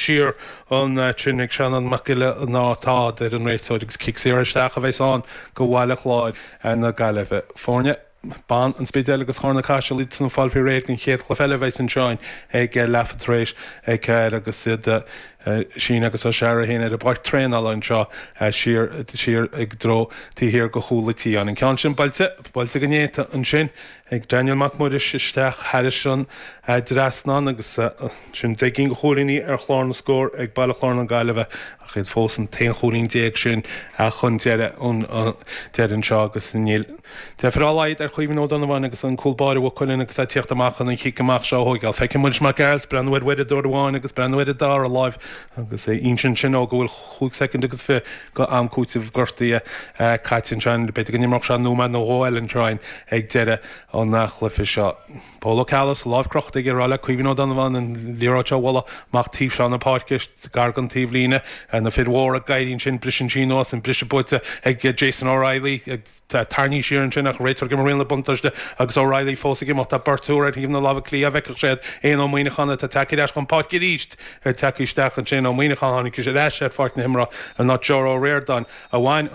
Siar ansin ag Seanán Mac Giolla ná tá, a deir an réiteoir agus cic saor isteach a bheas ann go Bhaile Chláir na Gaillimhe. Foirne ban an Spidéil agus Charna Caiseal iad san ag fáil faoi réir don chéad chluiche eile a bheas anseo ag leathuair tar éis 4 agus iad Síne agus Ó Searraigh féin ar an bpáirc traenála anseo siar siar i dtreo taobh thiar de chúl an tí. An ceann sin buailte, buailte go néata ansin ag Daniel Mac Muiris isteach thairis an dtrasnán agus sin 10 gcinn de chúilíní ar chlár na scór ag Baile Chláir na Gaillimhe ach iad fós an t-aon chúilín déag sin chun deireadh an deireadh anseo agus níl deifir dá laghad ar Chaoimhín Ó Donnabháin agus an cúl báire Mhaigh Cuilinn agus é ag tíocht amach chun an chic amach seo a thóigeáil. Feiceann Muiris Mac Gearailt breathnú ar uaireadóir amháin agus breathnú ar an dara láimh agus é insint sin ó go bhfuil chúig soicind agus 20 go am cúitimh gortaithe caite ansin. B'fhéidir go n-imreodh sé nóiméad nó dhó eile ansin ag deireadh an chluiche seo. Pól Ó Ceallaigh is a lámh crochta aige ag rá le Caoimhín Ó Donnabháin an liathróid seo a bhualadh amach taobh seo na páirce, gar don taobhlíne. Na fir mhóra ag éirí ansin, briseann sí anuas, an briseadh buaite ag Jason O'Reilly. Tarraingthe siar ansin ach réiteoir ag imirt riail na buntáiste agus O'Reilly fós ag imeacht. Tá beirt úr ar thaobh na láimhe clí dá bhfeicfeadh sé iad. Éanna Ó Muíneacháin atá tagtha ar ais chun páirce arís tagtha isteach ansin. Ó Muíneacháin tháinig ar ais ar pháirc na himeartha in áit Joe Ó Ríordáin a bhain an.